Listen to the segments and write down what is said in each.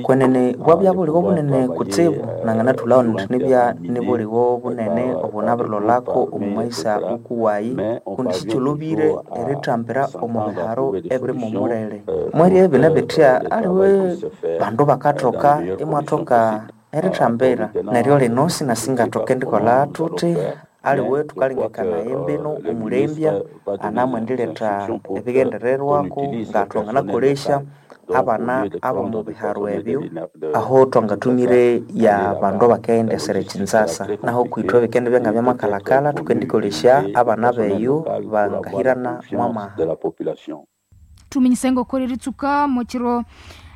Kwenene bwabya buligho bunene kutsibu nanganathulhawo indi nibya nibuligho bunene obunabirilholako omu mayisa wukuwayi kundi sikyolhobire erithambira omu biharo ebiri mwomulere. Mwerya bine bithya aliwe bandu bakathoka imwathoka erithambira neryo lino sinasingathoka indikolha thuthi aliwe thukalengekanaya embinu omulembya anamwendiletha ebighendererwako ngathwanganakolesya abana abomu biharo ebyo aho twangathumire ya bandu abakaghendesera ekinzasa naho kwithwe bikendibya ngabyamakalakala thukendikolesya abana beyo bangahirana mwamaha. Thuminyise ngoko eritsuka mwekiro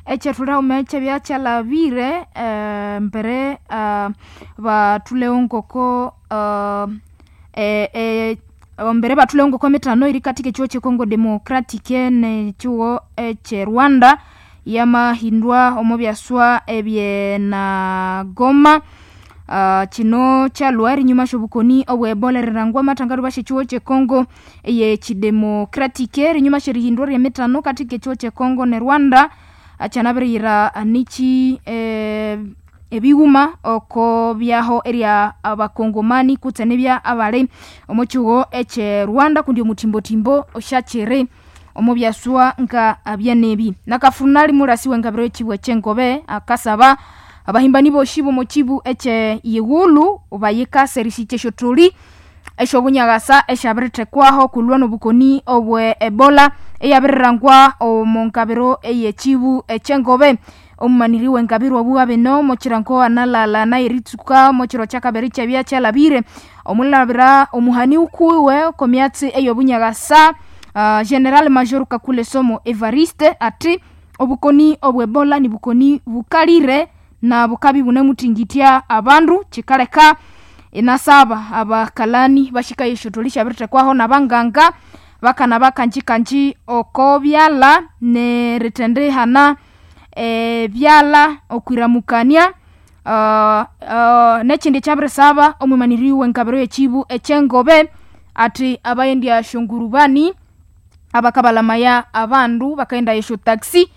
ekyethulihaghuma ekyabya kyalhabire mbere bathulewo ngoko mbere bathulewo ngoko emithano erikathika ekyihugho kye Congo Democratic nekyihugho ekye Rwanda yamahindwa omo byaswa ebyenagoma. Kino kyalhwa erinyuma syobukoni obwe Ebola erilhangwa amathangalu basya ekyihugho kye Congo eyekidemocratic. Erinyuma syerihindwa ryemithano kathika ekyihugho kye Congo ne Rwanda kyanabiriyira niki ebighuma oko byaho erya abakongomani kutse nibya abali omo kyihugho ekye Rwanda kundi omuthimbothimbo osyakyiri omo byaswa nga byenebi. Nakafunali mulasi wengabiro y'ekibu ekyengobe akasaba abahimbani bosi bomo kibu ekye Ighulu bayikase erisikya esyotholi esyobunyakasa esyabirithekwaho kulwa nobukoni obwe Ebola eyabirirangwa omo ngabiro ey'ekibu ekyengobe. Omumaniri wengabiro obu abino omo kirango analalana eritsuka omo kiro kyakabiri kyabya kyalhabire omulabira omuhani wukuwiwe oko myatsi ey'obunyakasa General Major Kakule Somo Evariste athi obukoni obwe Ebola nibukoni bukalire na bukabya ibunemuthingitya abandu kikaleka inasaba abakalani bashikaye esyotholi syabirithekwaho nabanganga bakana kanjikanji oko byalha nerithendihana ebyalha okwiramukania. Nekyindi ekyabirisaba omwimaniri wengabiro y'ekibu ekyengobe athi abayendya syongurubani abakabalamaya abandu bakaghendaya esyo taxi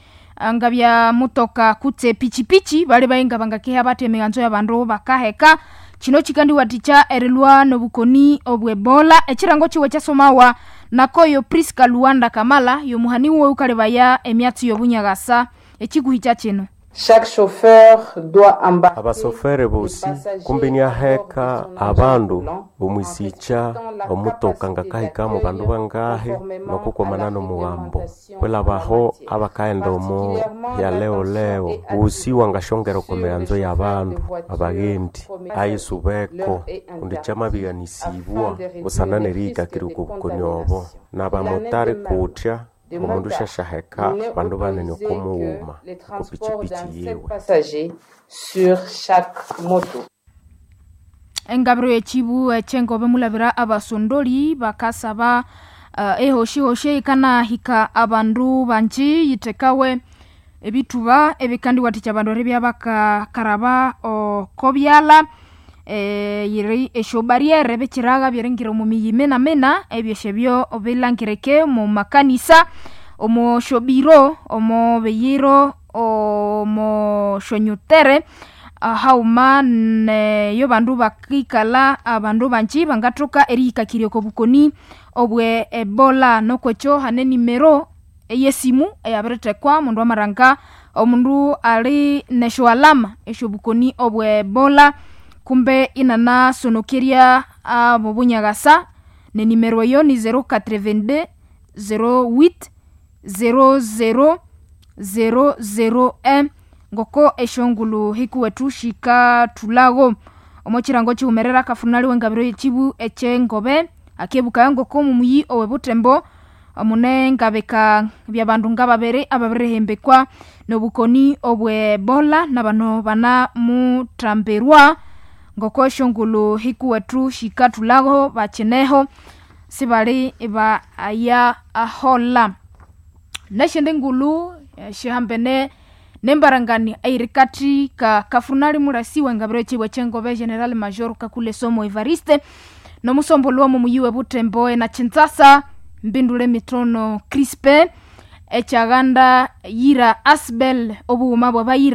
ngabya mutoka kutse pichipichi bali nga bangakeha bathi emighanzo y'abandu bakaheka. Kino kikandiwathikya erilhwa nobukoni obwe Ebola. Ekirango kiwe kyasomawa nakoyo Prisca Luanda Kamala yomuhani wuwe wukalebaya emyatsi y'obunyakasa ekikuhikya kino. Chaque chauffeur doit embarquer Abasofere bosi kumbi iniaheka abandu omwisikya omutoka ngakahikamu bandu bangahi nokukwamana nomughambo kwilhabaho abakaghenda omo hyaleo-leo ghusi wangasyongera oko mighanzo y'abandu abaghendi ayisubeko kundi kyamabighanisibwa busana nerihikakirya oko bukoni obo nabamotari kuthya omundu syasyaheka bandu banene oko mughuma oko pichipichi yiwe. Passagers sur chaque moto. Engabiro y'ekibu ekyengobe mulabira abasondoli bakasaba ehoshihoshi eyikanahika abandu banji yithekawe ebithuba ebikandiwathikya abandu eribya bakakaraba oko byalha yiri esyo barriere bikiraga byeringira omu miyi minamina ebyo syebyo bilangirike omu makanisa, omo syobiro, omo biyiro, omo syonyutere haghuma neyo bandu bakikalha abandu banji bangathoka erihikakirya oko bukoni obwe Ebola. Nokwekyo hane enimero eyesimu eyabirithekwa omundu amaranga omundu ali nesyo alama esyobukoni obwe Ebola kumbe inanasonokerya abo bunyakasa nenimero eyo ni 082 08 00 001 ngoko esyongulhu hikuwethu sikathulhago. Omo kirango kighumerera akafunali wengabiro y'ekibu ekyengobe akebukaya ngoko omumuyi owe Butembo mune ngabika byabandu ngababiri ababirihembekwa nobukoni obwe Ebola nabano banamuthambirwa ngoko esyongulhu hikuwethu sikathulhago bakineho sibali baya aholha. Nesyindi ngulhu syihambene nembarangani eyirikathi ka kafunali mulasi wengabiro y'ekibu ekyengobe General Major Kakule Somo Evariste nomusombolho w'omu muyi we Butembo ena Kinshasa Mbindule Mitono Crispin ekyaghanda yira Asbel obughuma bw'abayira.